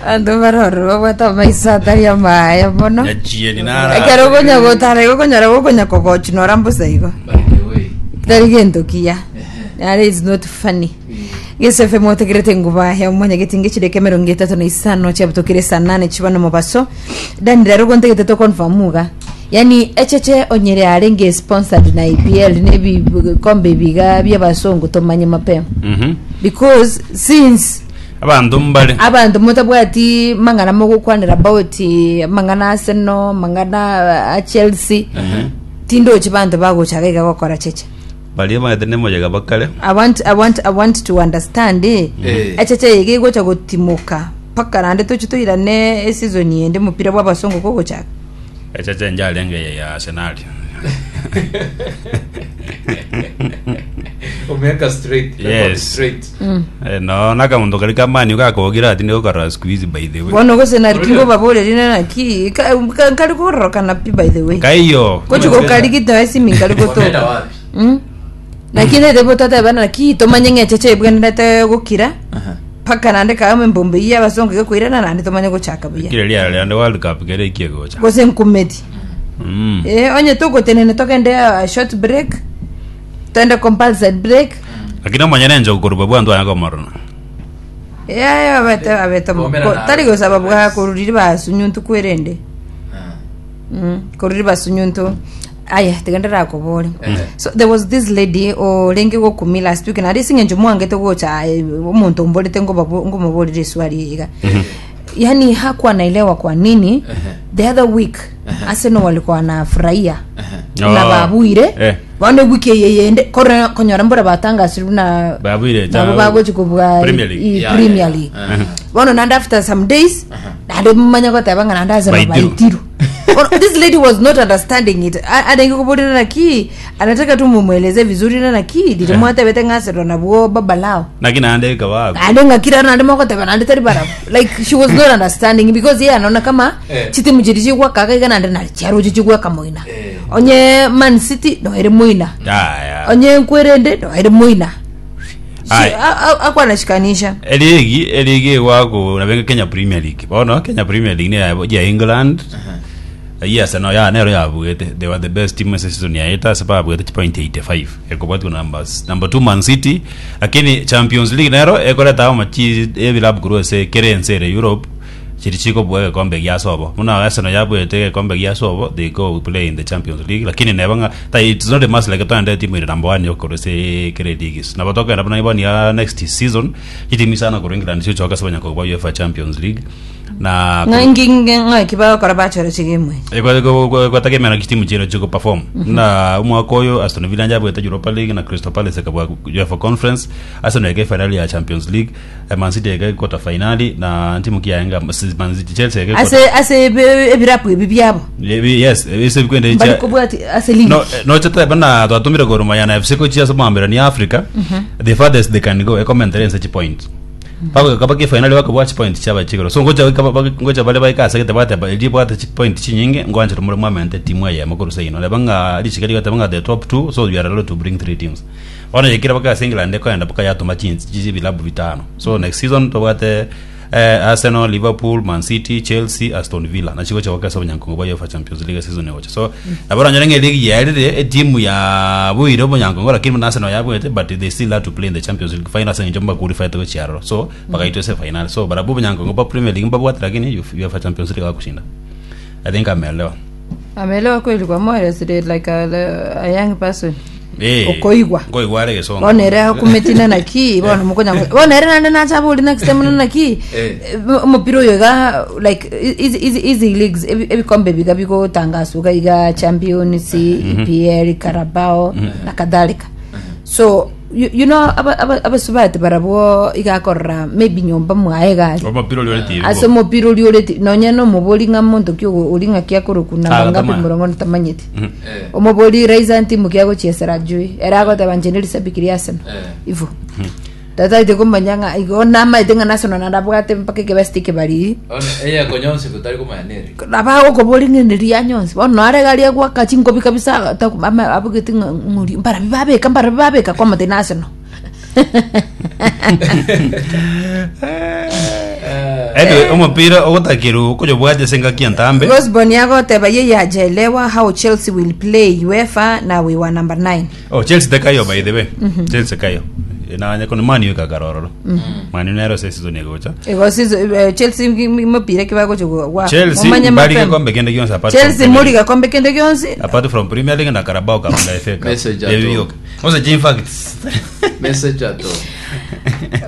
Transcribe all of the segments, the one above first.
Abanto baroro babwate amaiso atari amaya mono. Nyachieni nara. Ekero okonya gotara igo okonyora gokonya kogochi nora mbosa igo. By the way. Tari gento kiya. Nare is not funny. Gese FM otegerete enguba ya omonyageti ngechireke emerongo etato na isano chiabutokire saa nane chiba nomobaso. Dani rero gontegete to confirm iga. Yani echeche onyere arenge sponsored na EPL ne ebikombe ebiga bi'abasongo tomanye mapema. Mhm. Because since Abanto mbare. abanto motabwati mang'ana mogokwanera about amang'ana Arsenal, amang'ana a Chelsea, tindochi banto bagochaka iga gokora cheche. Baria bamaete nemoyega bakare. I want, I want, I want to understand eh. Eh. Echeche eye iga egocha gotimoka mpaka naende tochi toirane eseason ende omopira bwa abasongo kogochaka. Echeche njarenge eye ya Arsenal. Omeka straight. Record Yes. Straight. Eh, no nakamonto kari kamani gakogira ati nigokara siku hizi by the way. Bono gose nari Oria. kingobaboreri naki ka- ka- nkari kororokana pi by the way. Kaiyo. Gochi gokarigita esimi nkari Wameenda gotoka. wapi? Mm. Lakini rebe otatebana naki tomanye ng'a echeche ebwenerete gokira Aha. mpaka naende kama embombe eyio y'abasongo egokoirana naende tomanye gochaka buya. Kire riara riande World Cup kere ekie gocha. Gose nkumeti. Mm. Eh, onye togotenena togende a short break togende compulsory break Lakini omonyene enchogu korwa bwantu anya komorora. Yaya abete abete mo- Komera ko- nawe. tari gosaba bwa koruriri basunyuntu kwerende Ah. Mm, koruriri basunyuntu aya tiga ndirakobore Eh. so there was this lady orenge gokumi last week nari ase eng'encho mwangete gocha eh, omonto omborete ngobabo- ngomoborere eswali eye iga yani hakuwa naelewa kwa nini Ehe. the other week Arsenal walikuwa wanafurahia Oh. na babuire Eh. bono ewiki eye yende kore konyora mbora batangasire buna Babuire cha- nabo bagochi kobua Premier League. i- Yeah, Premier yeah, League yeah. Uh-huh. bono naende after some days naende mumanye goteba ng'a naende Arsenal Baitiru. baitiru Bono, this lady was not understanding it A- arenge koborera naki anataka tu mumweleze vizuri na naki riri mwatebete ng'a Arsenal nabwo baba lao Naki naende ekaba naende ng'akira naende mogoteba naende tari barabwo like she was not understanding because yeye anaona kama Eh. chitimu chiri chigwakaga iga naende nari chiaroche chigwaka moina Eh. onye man city noere moina Yaya. onye nkwerende noere moina She- Aye. a- a- akwanashikanisha Eligi eligi egwako nabenge Kenya Premier League. Bono Kenya Premier League ne ya ya England. Yes, no ya nero yabuete. They were the best team ase season yaeta ase babuete chipoint 85. Ekobwatwa numbers. Number 2 Man City. Lakini Champions League nero ekoreta amo chi ebilabu korwa ase kere ense ere Europe chiri chikobua egekombe gia sobo. Buna Arsenal yabuete egekombe gia sobo they go play in the Champions League. Lakini neba ng'a ta it's not a must like toende timu ere number 1 yokorwa ase kere leagues. Nabo tokogenda buna bono iga next season chitimu isano korwa England chigochoka ase banyakobua UEFA Champions League. Na Ng'a- ngi- ngi- ng'aki bagokora bachora chigame echi gwategemera chitimu chire chigo perform na omwaka oyo Aston Villa njabuete Europa League na Crystal Palace ekabua UEFA Conference Arsenal eke finali ya Champions League eh, Man City eke quarter finali na ntimu ki yaenga Man City Chelsea eke ase ase ebe- ebirabu ebi biabo yes ese bikwende mbari kobwati ase league no eh, no chete bana twatumire Gor Mahia na FC kochia ase omwambera ni Africa the farthest they can go ekomentere ense chipoint Bagoika bake finali bakobua chipoint chiaba chigoro so ngocha goika ba- ngocha bare baika ase gete bateba erio bwate chipoint chinyinge ngoanchera more mwamente timu eyemo korwa seino reba ng'a richiko rigoteba ng'a the top two so you are allowed to bring three teams bono yaikire baka ase England ekoenda mpaka yatoma chinsi chi ebilabu bitano so next season tobwate eh, Arsenal, Liverpool, Man City, Chelsea, Aston Villa nachi gocha goka ase obonyankongo bwa UEFA Champions League season egocha so nabo oranyore ng'a eligi yaerire etimu yabuire obonyankongo lakini buna Arsenal yabuete but they still had to play in the Champions League final ase eng'encho mbaqualifiete gochia aroro so bagaitwa ase final so barabwo obonyankongo bwa Premier League mbabwate lakini UEFA Champions League bagoshinda I think ameelewa Ameelewa kweli kwa moyo like a, a young person Eh, Okoigwa. nkoigwa are egesongo bono ere akumeti na naki bono mokonya bono ere naende nacha abori next time na naki Eh. eh, omopira oyo iga like izi izi izi leagues ebi- ebikombe biga bigotangaswa iga iga champions EPL Carabao na kadhalika so you, you know aba- aba- abasubati barabwo iga akorora maybe nyomba mwaye gari omopira oria ore TV ase omopira oria ore ti- nonya na omobori ng'a monto ki ogo- ori ng'aki akorokwa na Ah, mangapi tamanya. morongo ntamanyeti Eh. omobori Raiza ntimu ki agochiesera ajue ere agoteba inche nerisabiki ria Arsenal Eh. ivo tataete komanya ng'a igo namaete ng'a Arsenal naende abwate mpaka ekebesti ekebariri One eye konyonsi gotari komanya nere. nabo agokobori ng'a neri yanyonsi bono nare iga aria gwaka chinkobi kabisa taku- ama- abegete ng'a ng'ori mbarabi babeka mbarabi babeka kwamotebia na Arsenal. Anyway, omopira ogotakiru okoyobwatia ase engaki entambe. Rosborn yagoteba yeye hajaelewa how Chelsea will play UEFA na we were number 9. Oh, Chelsea tekayo by the way. Chelsea kayo. Nanya kono Man U kakarororo. Man U nero ase season egocha. Ego season Chelsea mopira ki bagocha gwa. Chelsea Omanye mbari mapema. gekombe kende gionsi apart from Chelsea Premier muri League. gakombe kende gionsi. Apart from Premier League na Carabao Cup na FA Cup. Message Ebio ato. bioka. Message in fact. Message ato.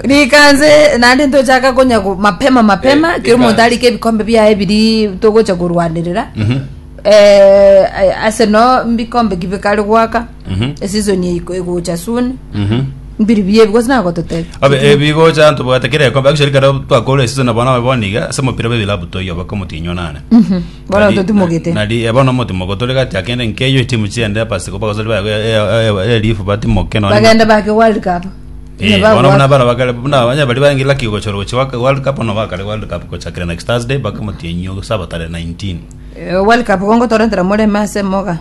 Rikanze naende ntochaka konya mapema mapema Eh, kero omonto rikanze. arike ebikombe biaye biri togocha korwanerera. Mhm. Arsenal mbikombe ki bikare goaka eseason eye egocha soon mbiri biye ebi gose nagototebia Abe ebigocha ntobwate kera ekombe actually kero twakora season bono abe bono iga ase omopira bwe ebilabu toiyo baka omotienyi nane. Bono totimogete. Nari bono omotimogo tore gati akende nkeyo etimu chiende pasiko bagosori baye elifu batimoke nonye. Bagende bake world cup Eh, bono buna bara bakare buna abanya bari baenge lucky gochora gochi World Cup no bakare World Cup gochakera next Thursday baka omotienyi saba tarehe 19. World Cup gongo torentera moreme ase moga.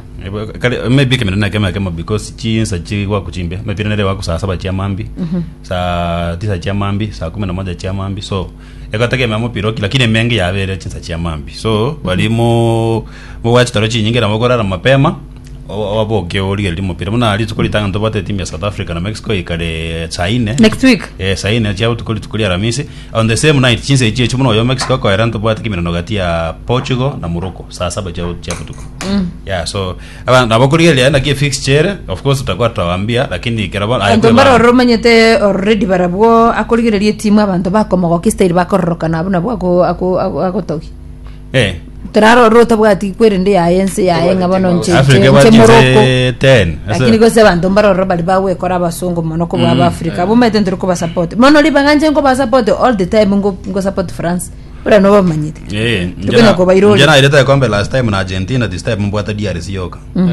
Kare maybe kemero na kema kema because chinsa chigwa kuchimbe maybe nere wako saa saba chia mambi saa tisa chia mambi saa kumi na moja chia mambi so egotegemea mopira oki lakini emenge yabere chinsa chia mambi so bari mo mo chitoro chinyinge nabo korara mapema oboke origereria omopira buna rituko ritang'ani tobwate etimu ya South Africa na Mexico ikare saa ine Next week. Eh, saa ine chia botuko rituko ria Aramisi on the same night chinsa echio echio buna oyo Mexico akoera ntobwate kiminano gati ya Portugal na Morocco saa saba chia chia botuko yeah so aba nabo korigereria naki efixture ere of course tutakuwa tutawaambia lakini kero bono aye Abanto kwebanga. mbarororo omanyete already barabwo akorigereria etimu abanto bakomogokia style bakororokana abwo nabwo ako- ako- ako- agotogia. Eh. Torarore otabwati kwerende yaye ense yaye ng'a bono nche Africa nche ebwate nche Morocco. chinse 10 Lakini gose abanto mbarororo bari bagwekora abasongo mono kobua aba Africa. Abwo omanyete ntiri kobasupport. Mono ribaga nche nkobasupport all the time ngo ngo support France. Buna nobamanyete. Eh, Tokonya kobaira njye ore. nairete ekombe last time na Argentina this time mbwate DRC yoka. Eh.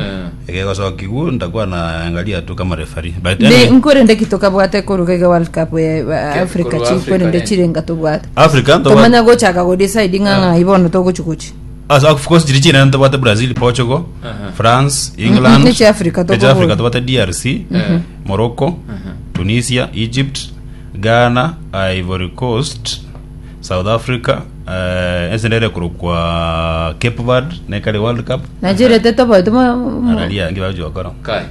Egegosokigu nitakuwa naangalia tu kama referee. But Ne anyway, nkwerende ki tokabwate koruga iga World Cup ya Africa korwa chi Africa, nkwerende eh. chirenga tobwate. Africa ntobwate Tomanya gochaka go decide ng'a ng'ai bono togochi gochi. As of course chiri chinene tobwate Brazil, Portugal, France, England. Nechi Africa Nechi tokobora. Africa tobwate DRC, Morocco, Tunisia, Egypt, Ghana, Ivory Coast, South Africa, eh, ense nere ekorokwa Cape Verde nekare World Cup. Nigeria tetoboete Araria ngi bagochi gokora. Kai.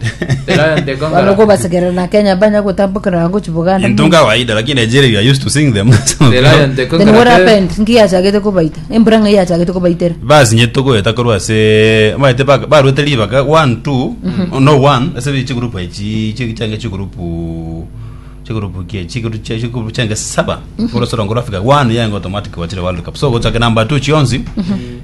The Lion the bano Conqueror. kobasekerera na Kenya banya gotambokera gochi Buganda. Into kawaida lakini Nigeria you are used to seeing them. The Lion the Then what Conqueror. happened? Nki yachagete kobaita. Embura ng'ai yachagete kobaitera. Basi togoeta korwa ase maete barwete ribaga 1 2 no 1 ase chigroup echi change chigroup chigroup kie chigroup chigroup change saba korosoro ngoro Africa 1 yango automatic wachire World Cup so gochake number 2 chionsi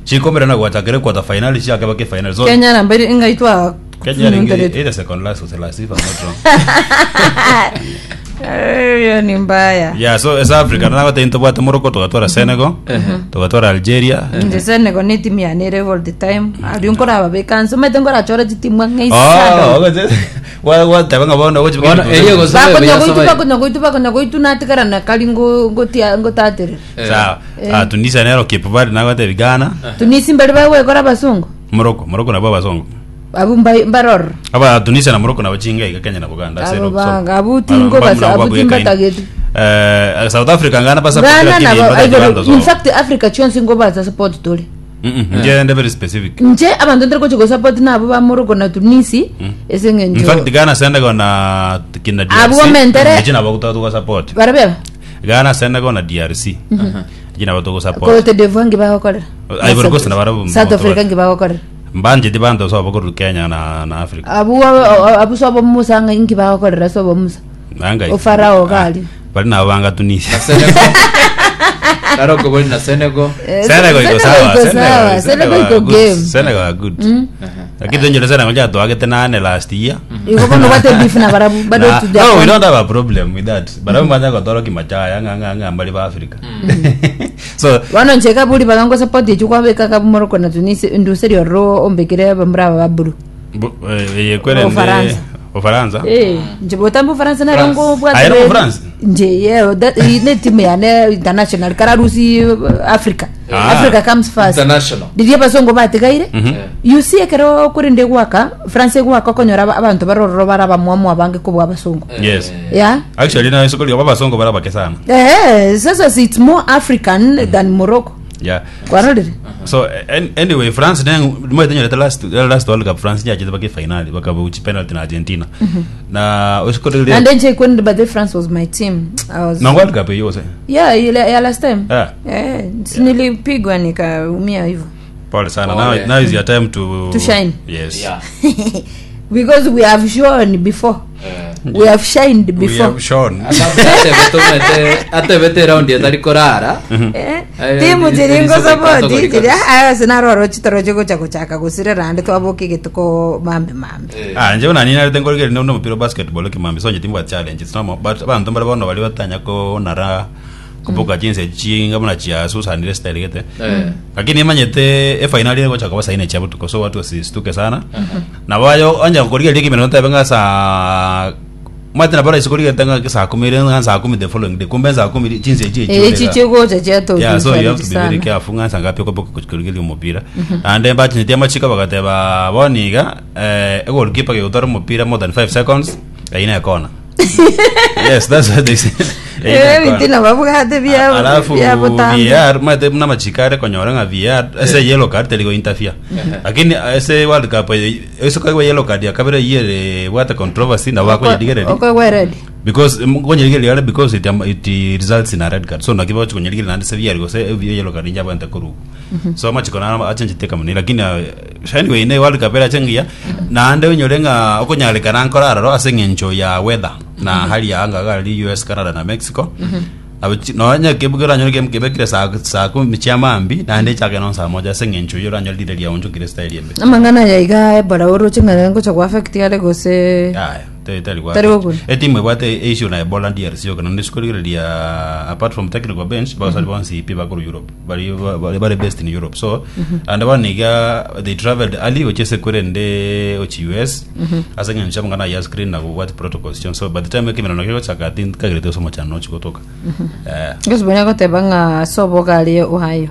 chikomera na gwachakere quarter final chiake bake final so Kenya namba iri ng'ai twa Kenya ringi either second last or last if I'm not wrong. Hiyo ni mbaya. Yeah, so as Africa na gote intobwate Morocco tugatwara Senegal tugatwara Algeria. Nje Senegal ni timu yanere all the time. Ari nkoraba bekanso mete nkorachora chitimu ng'ai Oh, sana. ogote wa wa tabanga bono gochi Bono, erio gose- Bakonya goitu Sabai. bakonya goitu bakonya goitu natigara na kari ngo ngotia ngotaterera. Eh. Sawa. Ah, Tunisia nero Cape Verde nagote Ghana. Tunisia mbere bagwekora abasongo. Morocco, Morocco nabo abasongo. Abu mbaror. Aba Tunisia na Morocco nabo chinga iga Kenya na Buganda. Abo banga, abo tingo basa, abo timbatageti. Eh, South Africa ngana pasa Ghana na Ivory in fact Africa chionsi ngo baza support tuli. Nje ndi very specific. Nche abantu ndiri kuchi support nabo ba Morocco na Tunisia ese In ng'encho. fact Ghana Senegal na kina DRC. Abo mentere- Nje nabo kutatu support. Barabeba. Ghana Senegal na DRC. Nje nabo tuko support. Cote d'Ivoire ngi bagokorera. Ivory Coast na barabu. South Africa ngi bagokorera. Mbanje di bando so abakuru Kenya na Africa. Abu abu sobo Musa ngi bagokorera sobo Musa. Anga. Ofarao gali. Bali na banga Tunisia. Na Senegal. Naroko boli na Senegal. Senegal iko sawa. Senegal iko sawa. Senegal iko good. game. Senegal are good. Lakini tonjole Senegal jatwagete nane last year. Iko bono bate beef na barabu bado Na- to no, we don't have a problem with that. Barabu manya kotoro kimachaya nga nga nga mbali ba Africa. So Bono nche kaburi bagango support echu kwabeka kabu Morocco na Tunisia nduseri oro ombekere bamura ba buru. Yekwere Ufaransa. Ufaransa. Eh, nje botambe Ufaransa nero France. ngobwate Ah, ero France? nje yeah, that, ne timu yane international kararusi Africa. Ah. Africa comes first. International. Riria abasongo batigaire. Eh. You see ekero korende gwaka France egwaka okonyora abanto barororo bare abamwamu abange kobua abasongo. Yes. Yeah. Actually na isoko lia abasongo bara bake sana. Eh, sasa si it's more African than Morocco. Yeah. Kwarorire? So anyway France ne mwe tenyorete last World Cup France yachete bake finali bakabuchi penalty na Argentina. Na isoko lia And then che when but the France was my team. I was na World Cup hiyo se. Yeah, ile ya last time. Yeah. Eh, si nilipigwa nikaumia hivyo. Pole sana. Pole. Now is your time to To shine. Yes. Yeah. Because we have shown before. Eh. We have shined We before. have shown. Atebete round etari korara. Eh, Eh, timu chiri ngosapoti iri- chiri aya sinaroro chitoro chigocha gochaka gosirera ande twaboka egetuko mambe mambe. Eh. Ah, nje bona nina tengo rige no mupira wa basketball kimambi so nje timwa challenge it's normal but abantu mbara bono bali batanya ko nara kubuka jinsi chinga muna chia Susan ile style gete. Eh. Lakini imanyete e finali ile gocha kwa saine cha butuko so watu wasistuke sana. Na bayo anja koriga ligi meno tabe nga sa Mate na bara isikoriga tanga saa 10 ile nga saa 10 the following day kumbe saa 10 jinsi chi Eh, ichi chigocha chiato Yeah, so you have to be very careful nga sanga piko poko kuchikoriga mupira. And then bachinyitia machika bagateba boniga eh goalkeeper gutara mupira more than 5 seconds aina kona. Yes, that's what they said. Eh, Aina kona. bitina babwate bia Alafu bia botambe. VAR mate mna machikare konyora nga VAR ese yellow card teligo interfere. Lakini ese World Cup ese kwa yellow card ya kabere yere what controversy na wako yedigere Okwe ready. because konyerigeri yale because it results in a red card so nakiba konyerigeri nandi se VAR gose yellow card njaba ntakuru so machiko na achenjiteka muni lakini anyway ne World Cup era chengia na ande unyore nga okonyarikana nkora aroro ase ng'encho ya weather na hali ya anga gari US Canada na Mexico nonya kebukira nyore kebekire saa kumi chia mambi naende chake no saa moja ase ng'encho yo ranyore rire ria onchokire style embe Amang'ana yaiga ebola oroche ng'ana ngocha kwa affect yale gose Aya, tari kwa. Tari gokuna. Etimu ebwate issue na Ebola DRC yo kana ndisukurigereria apart from technical bench basari bonsi ipi bakuru Europe. Bari based in Europe. So and baniga they traveled early ochese kurende ochi US. Ase ng'encho mangana ya screen na what protocols chon. So by the time ekimena nakiko chaka think kagirete somo chano chikotoka. Eh. ngosibona goteba ng'a sobo gari Ohio.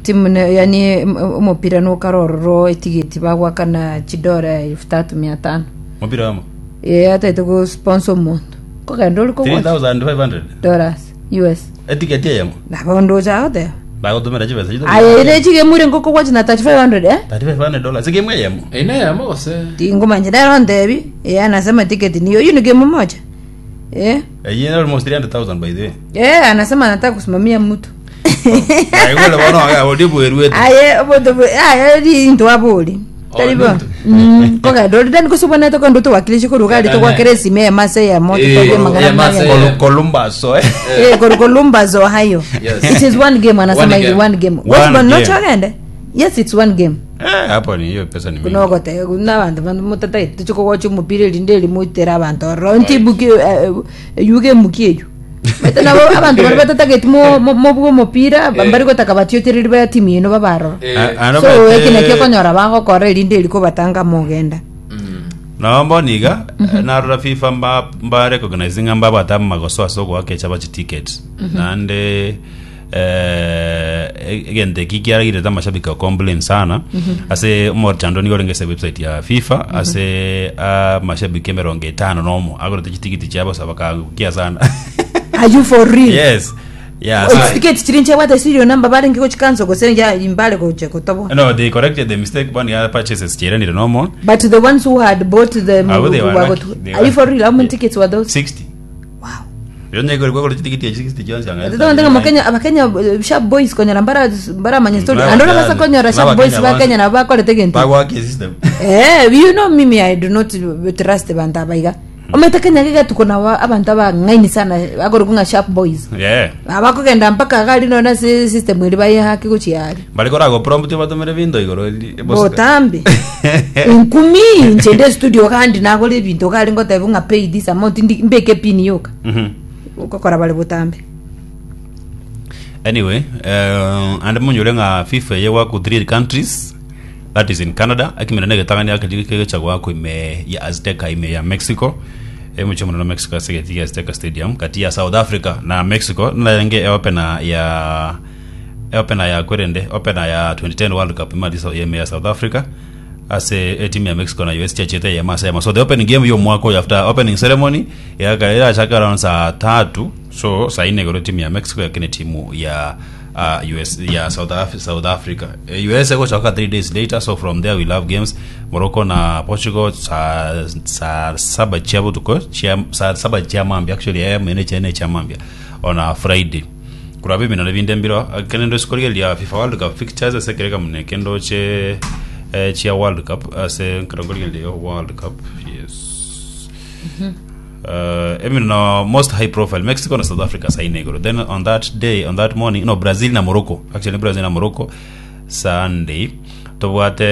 Timu ne yani omupira nukarororo etigiti bagwakana chidora 3500. Mupira wamo. Eh, ataite go sponsor omonto. Kogenda ori kogwa 3500. dollars US. Etiketi yamo. Nabo ndocha goteba. Bagotumira chibesa chito. Aye ire chigemure ngoko gwachi na 3500 eh? 3500 dollars. Sikimwe yamo. Ina yamo gose. Tingomanje ndero ndebi. Eh, anasema tiketi niyo hiyo ni game moja. Eh? Eh, almost 300,000 by the way. Eh, anasema anataka kusimamia mtu. Aigole bono aga odibu erwete. Aye, obodo aye ri into abori. Oh, Taribo. nintu. Koga ndo ndani kusubona to kondo to wakilishi ko rugari to kwa keresi me mase ya moto Eh, to kwa magana ya mase. magana. Columbus eh. Eh, Columbus Ohio. Yes. It is one game anasema One is game. one game. One What's game. not chogende? Yes, it's one game. Eh, hapo ni hiyo pesa ni mingi. Kunogote kuna abantu bantu mutata tuchiko wacho mupira linde limutera abantu. Ronti buki yuge mukiyo. Bete nabo abantu bari batatageti mo mo bwo mupira bari gotaka batiotereri ba timu yino babarora. Eh. Ano So bete- eki nakio konyora bagokora erinde eriko batanga mogenda. Naomba niga narora FIFA mba recognizing mba bata magoso asoko wakecha bachi tickets. Nande egente kikiaragire ta mashabiki complain sana ase omorchando nigo rengese website ya FIFA ase mashabiki emerongo etano nomo agorete chitikiti chiabo sabakangukia sana Are you for real? yes yeah Oh, so, ticket chiri nchebwate serial number barenge gochikanso gose imbale goche kotobo. no they corrected the mistake one other purchases chirenire normal But the ones who had bought them Ah, well, they were were lucky. got- They Are you were- for real? How many tickets were those? 60 Wow. yonye gore chitikiti ya 60 chionsi anga Tete Mukenya abakenya sharp boys konyora mbara manye story. Naba Andora Kenya- basa konyora sharp naba boys Kenya ba bonsi. Kenya na bakorete gento. bagwake system Eh, you know mimi I do not trust bantu abaiga. Omete Kenya giga tuko na abantu abang'aini sana agoro kunga sharp boys. yeah Abakogenda mpaka gari nona system iri bayihaki guchiari. bari korago prompt batumire binto igoro Botambi. Nkumi nchende studio kandi nagora ebinto gari ngotebu ng'a pay this amount mbeke pin yoka. Ukokora bari botambi. Anyway, and munyure nga FIFA ye waku 3 countries. That is in Canada. Ekemira na egetang'ani ake kegocha goakwa ime ya Azteca ime ya Mexico. Emochie omonene o Mexico ase egeti gia Azteca Stadium gati ya South Africa na Mexico narenge eopena ya eopena ya kwerende opener ya 2010 World Cup ime ase ime ya South Africa ase etimu ya Mexico na US chiachete eyemo ase eyemo. So the opening game y'omwaka oyo after opening ceremony yaka erachake around saa tatu so saa ine igoro timu ya Mexico yakine timu ya US ya South, Af South Africa. US egochaka 3 days later so from there we'll have games Morocco na Portugal saa saa saba chia botuko chia saa saba chia mambia actually mene chene chia mambia on a Friday kuraba ebinano binde mbiro kende ndo sikorigereria FIFA World Cup fixtures ase ekereka muna kendo che chia World Cup ase nkero nkorigereria World Cup yes Even most high profile Mexico na South Africa saa ine igoro then on that day on that morning no Brazil na Morocco actually Brazil na Morocco Sunday tobwate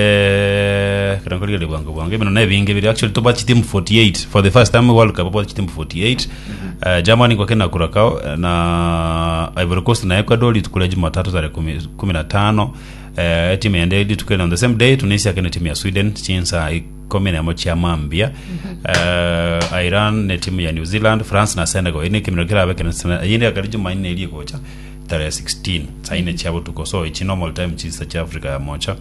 kero nkorigereria bwango bwango ebino na ebinge biri actually tobwate chitimu 48 for the first time World Cup tobwate chitimu 48 Germany gwake na Curacao na Ivory Coast na Ecuador rituko ria Jumatatu tarehe kumi na tano etimu ende rituko on the same day Tunisia kene timu ya Sweden chinsa ikomi nemo chia mambia Iran ne timu ya New Zealand France na Senegal ene ekemero kerabe kene eyinde akari Jumanne eria egocha tarehe 16 saa ine chia botuko so echi normal time chinsa chia Africa ya mocha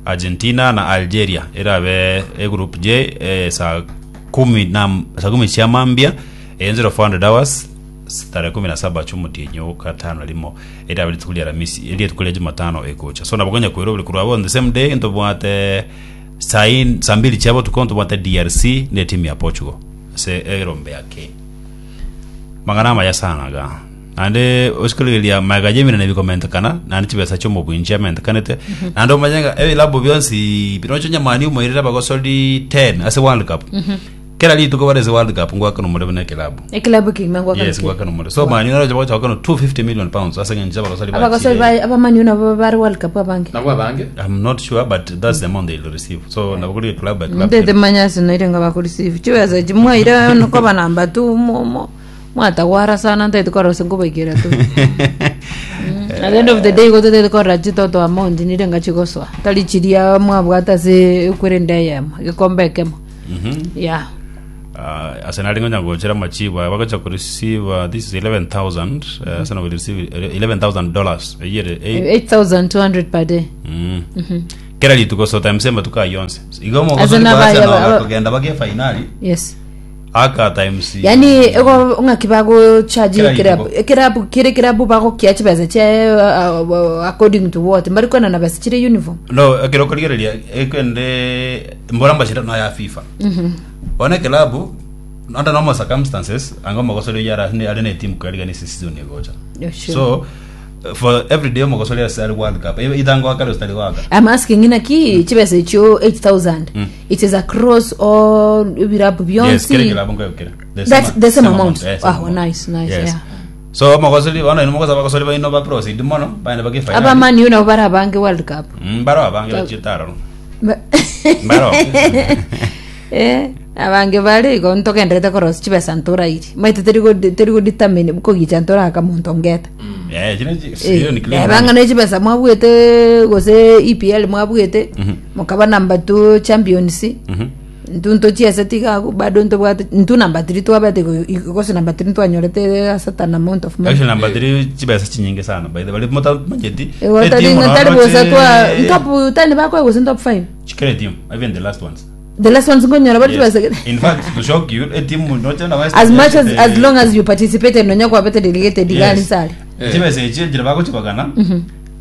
Argentina na Algeria erabe e group J saa kumi na saa kumi chia mambia eye 0400 hours tarehe 17 ch'omotienyi o gatano rimo erabe rituko ria Aramisi eria rituko ria Jumatano egocha so nabo konya koira obori korwa abwo on the same day ntobwate Saa in, saa mbili chia botuko ntobwate DRC ne timu ya Portugal ase erombe ya K. Mang'ana amaya sana iga. Naende osikorigereria magega ya eminene bikomentekana naende chibesa chia omobui nchiamentekanete naende omanye ng'a ebilabu bionsi biroche onye Man U moirire abagosori 10 ase World Cup. Kera rituko bare ase World Cup ngoakana omore buna ekilabu. Ekilabu ekegima ngoakana Yes, ki? ngoakana omore. So Man U naroche bagocha goakana 250 million pounds ase eng'encho abagosori Abagosori bachire. ba abamani nabo bare World Cup abange. Nabwo abange. I'm not sure but that's the amount they'll receive. So nabo kori club by club. Ndete manya sinoire nga bakureceive chibesa echi mwaire nokoba namba two mo- mo- mwatagwara sana ntaete korora gose nkobaikera tu at the end of the day gototete korora chitoto amount nire nga chigosoa tari chiria mwabwate ase ekwerende eyemo egekombe ekemo yeah Arsenal ngonya gochera machibu aya bagocha ku receive this is 11000 Arsenal will receive 11000 dollars a year 8200 per day kera rituko so times amatuko ayio onsi igo Ase omogosori naba- kwa Arsenal akogenda bake finali yes aka times yani ego ng'aki bagochaji Kera ekerabu rituko. ekerabu kere ekerabu bagokia chibesa chia according to what mbari kwenana besa chire uniform no ekero okorigereria ekwende mbora mbachirano ya FIFA Bono ekelabu under normal circumstances anga omogosori oyio ara are ne team kwerigania ase season egocha. Yeah, sure. So for every day omogosori ase are World Cup either ngoaka gose tari goaka. I'm asking inaki chibesa echio 8000 it is across all ebirabu Yes, kere bionsi kelabu nkoyo kere. The That's the same amount. eh, same Ah, nice, nice, Yes. yeah. So omogosori bono inwe mogosa abagosori baino ba proceed mono baende bake final. abamani nabo bare abange world cup Mbaro abange bachiete aroro. Mbaro. Eh, abange bare igo ntogenderete korosia chibesa ntorairi maete teri go- teri godetermine kogicha ntoraka monto ngeta Eh, chine chi- hiyo ni clear. bang'ana echibesa mwabwete gose EPL mwabwete mokaba number 2 champions ntu ntochiese tiga agwo bado ntobwate ntu number 3 twabete igo gose number 3 ntwanyorete a certain amount of money Actually number 3 chibesa chinyinge sana by the way mutamanyeti. Igo tari tari bosa twa top 10 bakwe gose top 5 Chikere team even the last ones. the last ones nkonyora bari Yes. chibesa In fact to shock you a team noche na West as Ham much as eh, as long as you participated nonya kwabete delegated Yes. gani sare Chibesa echi njira bagochibagana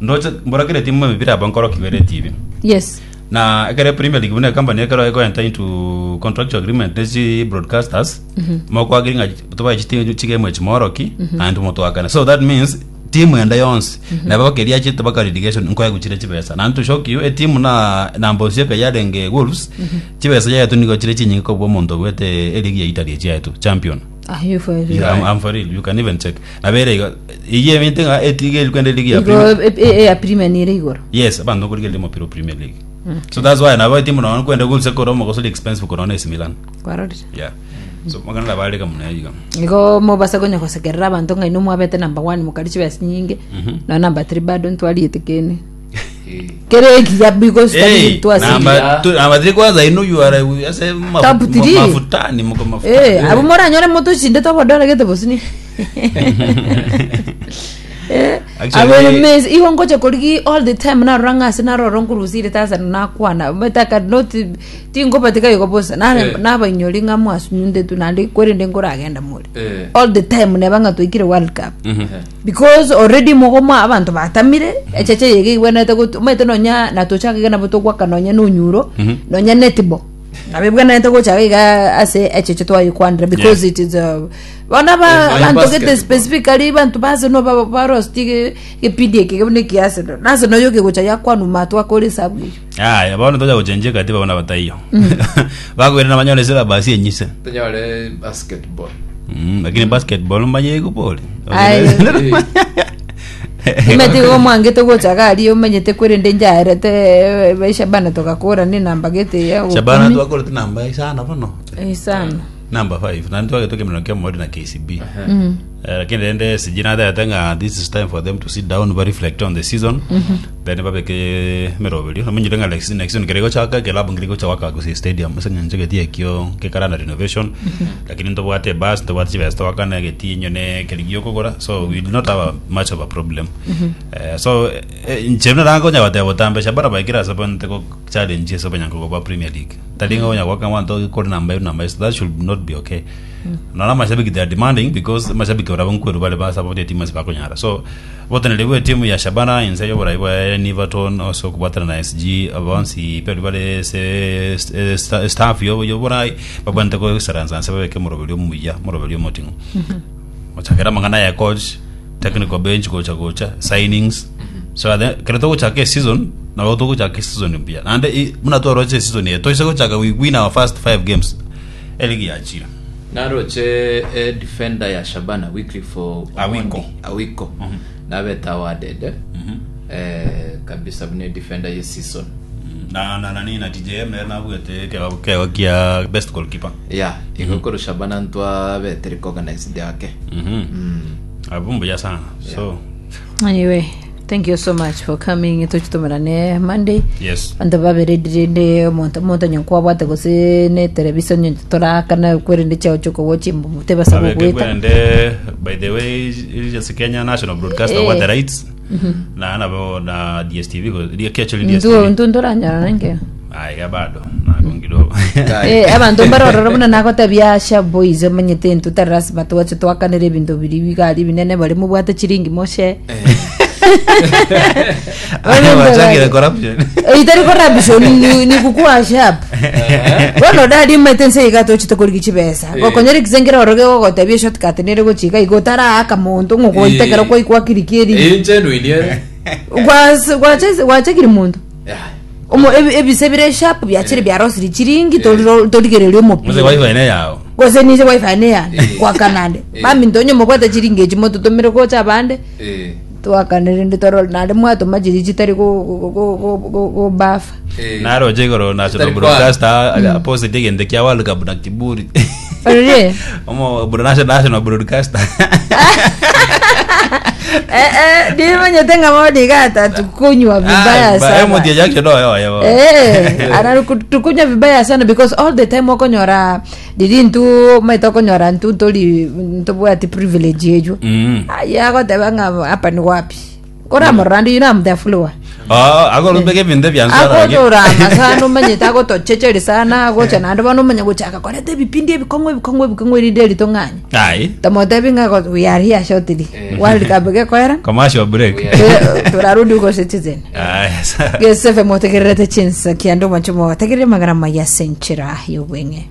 ndoche mbora kere team emepira abo nkoro kibere TV. yes Na ekere Premier League buna ecompany ekero eko enter into contractual agreement ne chi broadcasters mokwagiri ng'a tobae chitimu chigame echi moroki naende motwakane so that means timu ende yonsi nabo bakeria achete baka relegation nkoegwa chire chibesa naende to shock you etimu na namba osieka yarenge Wolves chibesa yaetwe nigo chire chinyinge kobua omonto obwete eligi ya Italy echi yaetwe champion Ah, you for real. Yeah, I'm for real. You can even check. Nabere igo iye ebinto ng'a etiga eri kwenda eligi ya Igo Premier. ya Premier nere igoro. Yes, abanto nkorigereria omopira o Premier League. So that's why nabo etimu nonya kwenda gose kore omogosori expensive korwa na AC Milan. Kwarorire. Yeah. So magana nabareka muna iga. Igo mobasa konya gosekerera abanto ng'a inwe mwabete number 1 mokari chibesa nyinge. Na number 3 bado ntwariete kene. Kere ekiya because tari Hey, twasire. namba tu- namba three kwanza ino you are ase mafu- Top three. mafutani muko mafutani Eh, abo moranyore motochinde tobodora gete bosini. Eh, Actually- abo mes igo ngocha korigi all the time narora ng'ase narora nkorusire tasana nakwana mataka not tingobatika igo bosa nare Eh. nabainyori ng'a mwasunyunte tu naende kwerende nkoragenda more Eh. all the time neba ng'a twaikire world cup Mhm. Because already mogoma abanto batamire echeche yege igwenerete gotu omanyete nonya natochaka iga nabo togwaka nonya na onyuro nonya netball nabo ebwenerete gochaka iga ase echeche twayekwanera because Yeah. it is a bono aba Eh, nonya abanto gete basketball. specifically banto ba Arsenal ba barosti ge gepindi eke buna ekia Arsenal na Arsenal yoke gocha yakwanwa matwa akore esabu eywo Aya, bono tocha gochenjia katiba bono bataiyo. Bakoirana banyore syllabus enyise. Tonyore basketball. Mm, lakini basketball mbaye igupori. Aye. Omanyete igo omwangete gocha iga aria omanyete kwerende njaerete eh, baisha bana togakora ne namba gete ya Shabana ikomi. twakorete namba isano bono. Isano. Number 5. Na twagete kemero kia mori na KCB. Eh, lakini rende sijui natete ng'a this is time for them to sit down ba reflect on the season then babeke meroberio namenyire ng'a next next season kere gochaka club ngere gochaka gose stadium ase ng'encho geti ekio kekara na renovation lakini ntobwate bus ntobwate chibesa twakana geti nyone keri giokogora so we do not have a, much of a problem eh, so eh, inche buna nakonya goteba botambe Shabana baikire ase bonte go challenge ase abanyankogo ba Premier League tari ng'a onya gwaka abanto kore namba ero namba ero so that should not be okay Nonya amashabiki they are demanding because amashabiki barabwo nkweru bare ba support etimu ase bakonyara. So oboteneneri bwe etimu ya Shabana inse y'oborai bwa Niverton ase okobwatana na SG bonsi baria bare ase eh, sta- staff yo- y'oborai babwenerete goisaransa nse babeke omoroberi omuya omoroberi omoting'u. Gochakera amang'ana ya coach, technical bench gocha gocha, signings. So at the, kero togochaka eseason nabo togochaka eseason mbuya. Naende i- buna twaroche eseason eye toise gochaka we win our first five games eligi yachire. Naroche eh, defender ya Shabana Wycliffe Omondi Awiko. Awiko nabete awarded eh, eh, kabisa buna defender ye season na na nani na TJM nere nabwete kego kego kia best goalkeeper yeah igo koru Shabana ntwabete recognized yake mhm abo mbuya sana so Anyway, thank you so much for coming tochitomerane Monday. yes Abanto babere rende omonto omonto onye nkwabwate gose ne television onye torakana kwerende chiao chiokogocha chimbumu tebasa Abeke gogoeta. kwerende by the way is Kenya National Broadcaster Eh. what the rights na nabo na DSTV go actually Ntu DSTV ntu ntoranyora nankeo. aiga bado nagongido Eh, abanto mbarorora buna nagotebia Asha boys omanyete intwe tari lasima twache twakanere ebinto biria bigari binene baria mobwate chiringi moshe Wachakire corruption itari corruption ni, ni kukua sharp bono dadi omanyete nse iga tochete korigi chibesa Eh. gokonyora ekisengere oro gegogotebia shortcut nere gochika igo otaraaka monto ng'ogoita Eh. ekero kwaikwa kiriki eri inche nuiniere Gwachekire monto Omo ebi- ebise bire sharp biachire biarosire chiringi toriro- torigereria Muse omopira wifi ne yao gose niche wifi neyane Eh. gwakanande Eh. baminto onye mobwate chiringi echi mototomire gocha abande twakanire ndi torore naende mwatoma chiri chitari go- go- go- go- go- gobafa naroche igoro national Chitari broadcaster posted egento kia World Cup na kiburi Orire? omo bro national national broadcaster Eh, eh, ndimanyete ng'a bono iga atatukunywa vibaya sana mutie jackson oyo oyo Eh, anatukunywa vibaya sana because all the time okonyora riri ntu maete okonyora ntu ntori ntobwati privilege ejo Mm. aya agoteba ng'a hapa ni wapi koramorora ndi you know I'm the follower Oh, akorubeka ebinto ebyansara agotorama sana omanyete agotochecheri sana agocha naende bono omanye gochaka koreta ebipindi ebikong'u ebikong'u ebikong'u erinde eritong'anye ai tamotebi ng'a go- we are here shortly Eh. world cup gekoera commercial break We are- turarudi huko citizen Aya, sawa. gesefe motegererete chinsa kiando mwancho motegerere magara maya senchera yobweng'e.